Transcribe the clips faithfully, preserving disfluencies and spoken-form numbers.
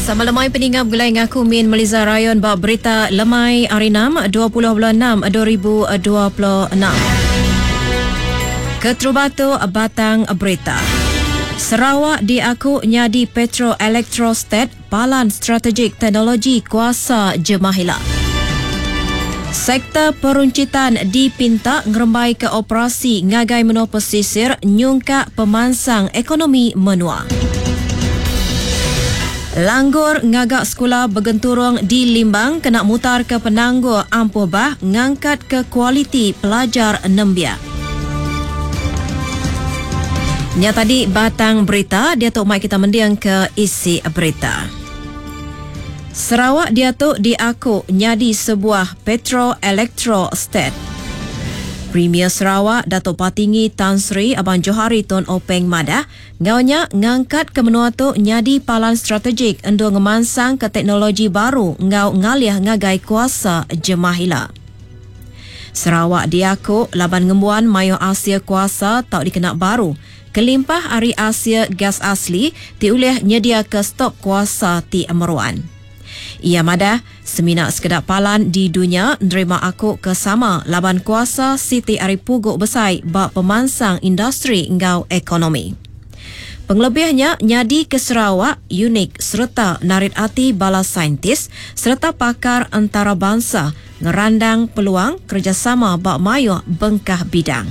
Sama lemai peningap gulai ngaku Min Meliza Rayon ba berita lemai hari enam dua puluh bulan enam dua ribu dua puluh enam. Keterubah tu batang berita. Sarawak diaku nyadi Petro Electrostat, palan strategik teknologi kuasa Jemahila. Sektor peruncitan dipinta ngerembai ke operasi ngagai menua pesisir nyungkak pemansang ekonomi menua. Langgur ngagak sekolah bergenturung di Limbang kena mutar ke penangguh ampuh bah ngangkat ke kualiti pelajar nembia. Nya tadi batang berita, dia tu mai kita mendiang ke isi berita. Sarawak dia tu diaku nyadi sebuah Petro Electro State. Premier Sarawak Datuk Patinggi Tan Sri Abang Johari Tun Openg madah, ngaunya ngangkat ke menua tu nyadi palan strategik endo ngemansang ke teknologi baru ngau ngalih ngagai kuasa Jemahila. Sarawak diaku laban ngembuan mayo Asia kuasa tau dikena baru. Kelimpah ari Asia gas asli ti ulih nyedia ke stok kuasa ti meruan. Ia madah, semina sekedar palan di dunia nerima aku ke sama laban kuasa Siti Ari Puguk Besai ba pemansang industri ngau ekonomi. Pengelebihnya nyadi ke Sarawak unik serta narit ati bala saintis serta pakar antarabangsa ngerandang peluang kerjasama ba mayuh bengkah bidang.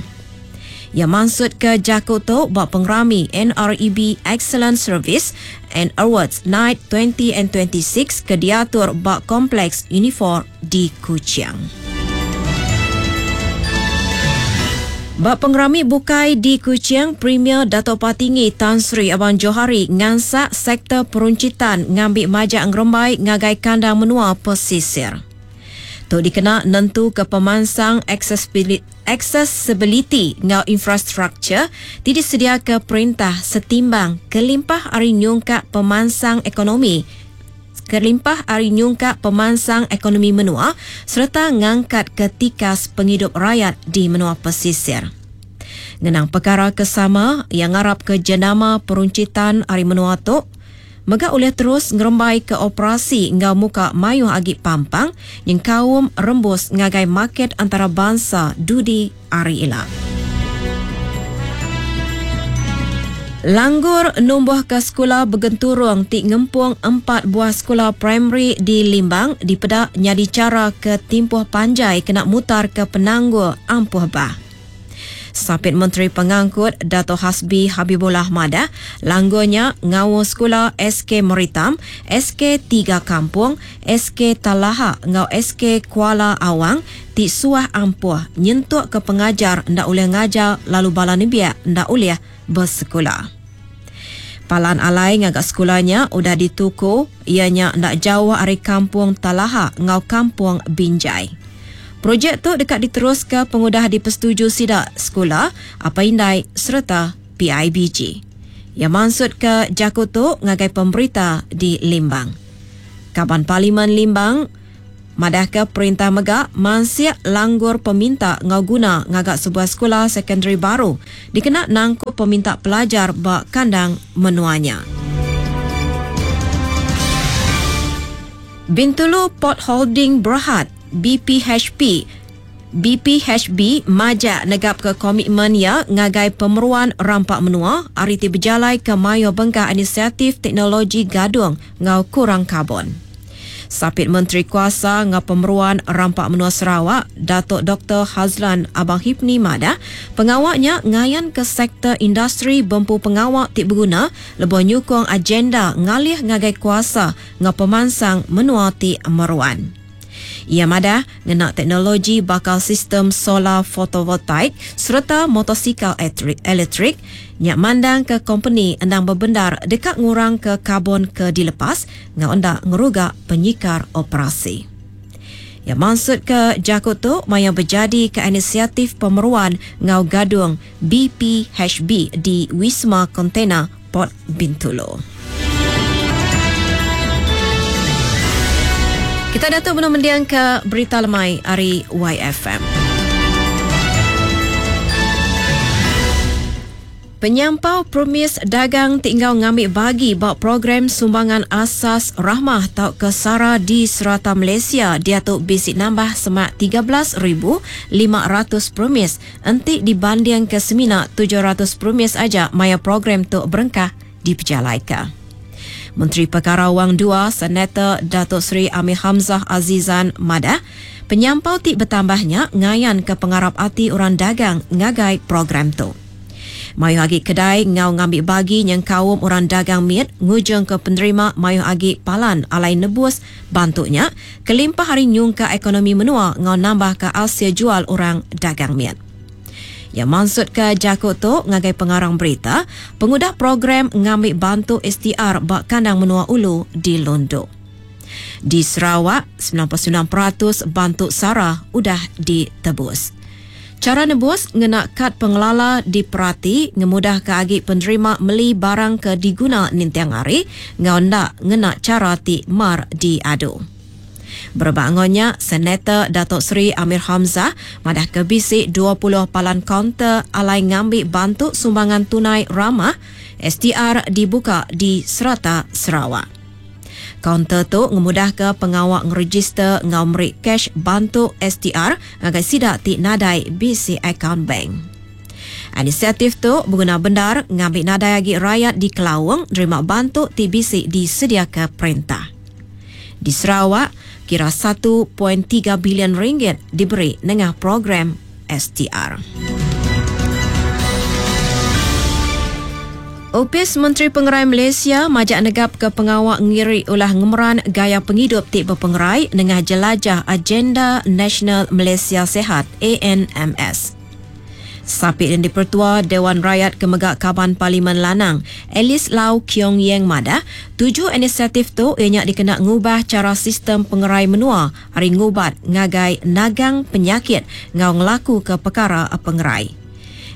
Ia maksud ke jaku tu ba pengerami N R E B Excellent Service and Awards Night twenty and twenty-six ke diatur ba Kompleks Unifor di Kuching. Ba pengerami bukai di Kuching, Premier Dato' Patinggi Tan Sri Abang Johari ngansak sektor peruncitan ngambil majak ngerembai ngagai kandang menua pesisir. Tu dikena nentu ke pemansang accessibility ngau infrastruktur ti disedia ke perintah setimbang kelimpah ari nyungkak pemansang ekonomi kelimpah ari nyungkak pemansang ekonomi menua serta ngangkat ke tikas penghidup rakyat di menua pesisir. Ngenang perkara kesama yang ngarap ke jenama peruncitan ari menua tu mega oleh terus ngerembai ke operasi ngau muka mayuh agi pampang yang kaum rembus ngagai market antarabangsa dudi ari ila. Langgur numbuh ke sekolah bergenturung ti ngempung empat buah sekolah primary di Limbang dipedak nyadi cara ke timpuh panjai kena mutar ke penangguh ampuh bah. Sapit Menteri Pengangkut Dato' Hasbi Habibullah Madah, langgurnya ngau sekolah S K Meritam, S K Tiga Kampung, S K Talaha ngau S K Kuala Awang ti suah ampuh nyentuk ke pengajar ndak boleh ngajar lalu bala nembiak ndak boleh bersekolah. Palan alai ngagak sekolahnya udah dituku ianya ndak jauh ari Kampung Talaha ngau Kampung Binjai. Projek tu dekat diterus ke pengudah dipersetuju sidak sekolah, apa indai serta P I B G. Yang maksud ke jaku tu ngagai pemberita di Limbang. Kaban Parlimen Limbang madah ke perintah megak mansiak langgur peminta ngau guna ngagak sebuah sekolah secondary baru dikena nangkup peminta pelajar ba kandang menuanya. Bintulu Port Holding Berhad B P H P B P H B majak negap ke komitmen ya ngagai pemeruan rampak menua ari ti berjalai ke mayo bengkah inisiatif teknologi gadung ngau kurang karbon. Sapit Menteri Kuasa ngau pemeruan rampak menua Sarawak, Datuk Doktor Hazlan Abang Hipni madah, pengawaknya ngayan ke sektor industri bempu pengawak ti berguna lebuh nyukung agenda ngalih ngagai kuasa ngau pemansang menua ti meruan. Ia madah ngena teknologi bakal sistem solar fotovoltaik serta motosikal elektrik nyak mandang ke company endang berbendar dekat ngurang ke karbon ke dilepas ngau endak ngerugak penyikar operasi. Ya maksud ke jakut tu maya berjadi ke inisiatif pemeruan ngau gadung B P H B di Wisma Kontena Port Bintulu. Kita datuk belum mendiang ke berita lemai hari Y F M. Penyampau premis dagang tinggal ngambil bagi ba program sumbangan asas Rahmah atau Kesara di serata Malaysia diatu bisi nambah semak tiga belas ribu lima ratus premis enti dibanding ke semina tujuh ratus premis aja maya program tu berengkah dipejalaika. Menteri Perkara Wang dua Senator Datuk Seri Amir Hamzah Azizan madah penyampau ti bertambahnya ngayan ke pengarap ati orang dagang ngagai program tu. Mayu agi kedai ngau ngambil bagi yang kaum orang dagang miet ngujung ke penerima mayu agi palan alai nebus bantunya kelimpah hari nyungka ekonomi menua ngau nambah ke Asia jual orang dagang miet. Ya maksud ke jakut tu ngagai pengarang berita pengudah program ngambil bantu S T R bak kandang menua ulu di Lundu. Di Sarawak, sembilan puluh sembilan peratus bantu SARA udah ditebus. Cara nebus ngena kad pengelala diperati ngemudah ke agi penerima meli barang ke diguna nintiang hari ngau ndak ngena cara ti mar diadu. Berbangunnya, Senator Datuk Seri Amir Hamzah madah ke bisi dua puluh palan kaunter alai ngambil bantu sumbangan tunai ramah S T R dibuka di serata Sarawak. Kaunter tu ngemudah ke pengawak ngeregister ngau meri cash bantu S T R ngagai sidak ti nadai B C account bank. Inisiatif tu berguna bendar ngambil nadai agi rakyat di Kelawang nerima bantu T B C disediakan perintah. Di Sarawak, kira satu perpuluhan tiga bilion ringgit diberi nengah program S T R. Opis Menteri Pengerai Malaysia majak negap ke pengawak ngiri ulah ngemeran gaya penghidup ti berpengerai dengan jelajah Agenda Nasional Malaysia Sihat A N M S. Sapit yang dipertua Dewan Rakyat Kemegak Kaban Parlimen Lanang, Alice Lau Kiong Yeng Madah, tujuh inisiatif tu ianya dikena ngubah cara sistem pengerai menua hari ngubat ngagai nagang penyakit ngau ngelaku ke perkara pengerai.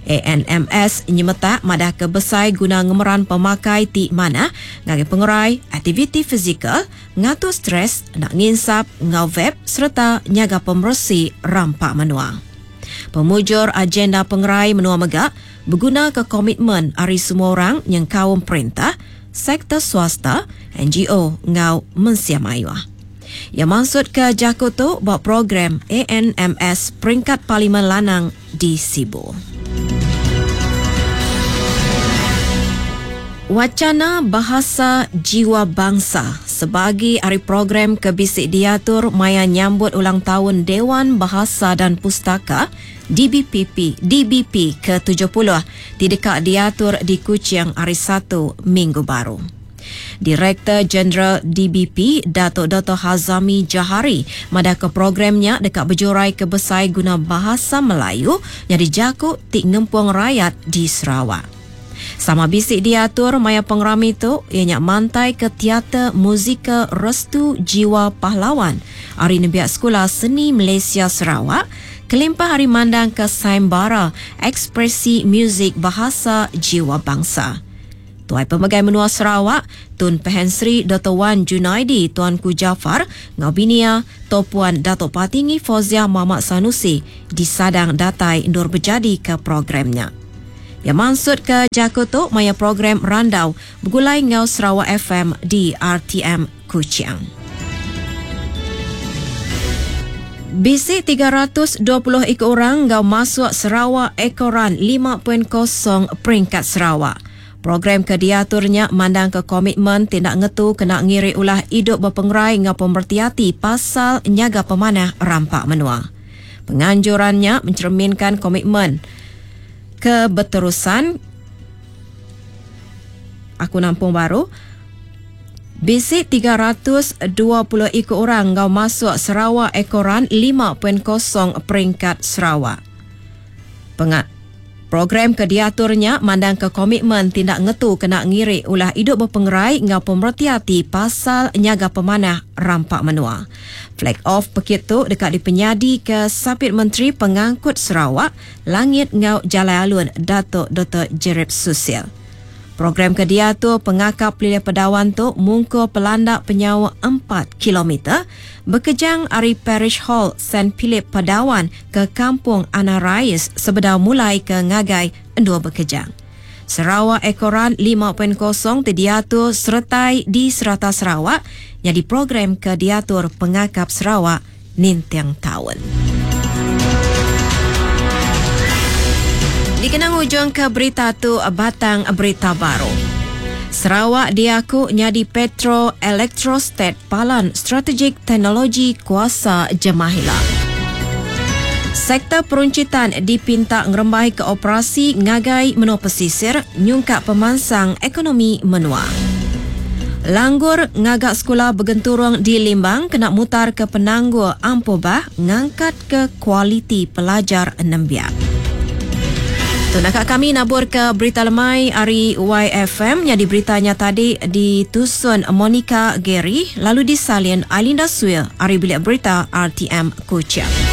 A N M S nyemetak madah ke besai guna ngemeran pemakai ti mana ngagai pengerai, aktiviti fizikal, ngatur stres, nak nginsap, ngau vape serta nyaga pemersi rampak menua. Pemujur agenda pengerai menua megak berguna ke komitmen ari semua orang yang kaum perintah, sektor swasta, N G O ngau mensia mayuah. Yang maksud ke jakut tu buat program A N M S peringkat Parlimen Lanang di Sibu. Wacana Bahasa Jiwa Bangsa sebagai hari program kebisik diatur maya nyambut ulang tahun Dewan Bahasa dan Pustaka D B P P, D B P ke tujuh puluh tidak diatur di Kuching hari Satu Minggu Baru. Direktur Jeneral D B P Datuk Doktor Hazami Jahari madah ke programnya dekat berjurai ke besai guna bahasa Melayu yang dijakuk tik ngempung rakyat di Sarawak. Sama bisik diatur maya pengerami tu ianya mantai ke teater muzikal Restu Jiwa Pahlawan hari Nembiak Sekolah Seni Malaysia Sarawak kelimpah hari mandang ke Saimbara Ekspresi Muzik Bahasa Jiwa Bangsa. Tuai Pemegai Menua Sarawak, Tun Pehin Sri Doktor Wan Junaidi Tuanku Jaafar, Ngaubinia, Topuan Datuk Patinggi Fauziah Muhammad Sanusi disadang datai ndur berjadi ke programnya. Yang maksud ke Jakoto maya program Randau bergulai ngau Sarawak F M di R T M Kuching. B C tiga ratus dua puluh ekor orang ngau masuk Sarawak Ekoran lima titik kosong peringkat Sarawak. Program kediaturnya mandang ke komitmen tindak ngetu kena ngiri ulah hidup berpengerai ngau pemertiati pasal nyaga pemanah rampak menua. Penganjurannya mencerminkan komitmen keberterusan aku nampung baru B C tiga ratus dua puluh ekor orang ngau masuk Sarawak Ekoran lima titik kosong peringkat Sarawak. Pengat program kediaturnya mandang ke komitmen tindak ngetu kena ngiri ulah hidup berpengerai ngau pemertiati pasal nyaga pemanah rampak menua. Flag off pekit tu dekat dipenyadi ke Sapit Menteri Pengangkut Sarawak Langit Ngau Jalai Alun Datuk Doktor Jerip Susil. Program kediatur pengakap Pelilih Pedawan tu mungko pelandak penyawa empat kilometer berkejang ari Parish Hall Saint Philip Padawan ke Kampung Anarais sebedau mulai ke Ngagai Endua Berkejang. Sarawak Eco Run lima titik kosong ti diatur seretai di serata Sarawak jadi program ke diatur Pengakap Sarawak ninting taun. Dikenang ujung ke berita tu batang berita baru. Sarawak diaku nyadi Petro Electrostat Palan Strategik Teknologi Kuasa Jemahila. Sektor peruncitan dipinta ngerembai ke operasi ngagai menua pesisir nyungkak pemansang ekonomi menua. Langgur ngagak sekolah bergenturung di Limbang kena mutar ke penangguh Ampubah ngangkat ke kualiti pelajar nembiak. Tu nak kami nabur ke berita lemai hari Y F M yang diberitanya tadi ditusun Monica Gary lalu disalin Ailinda Suil hari bilik berita R T M Kuching.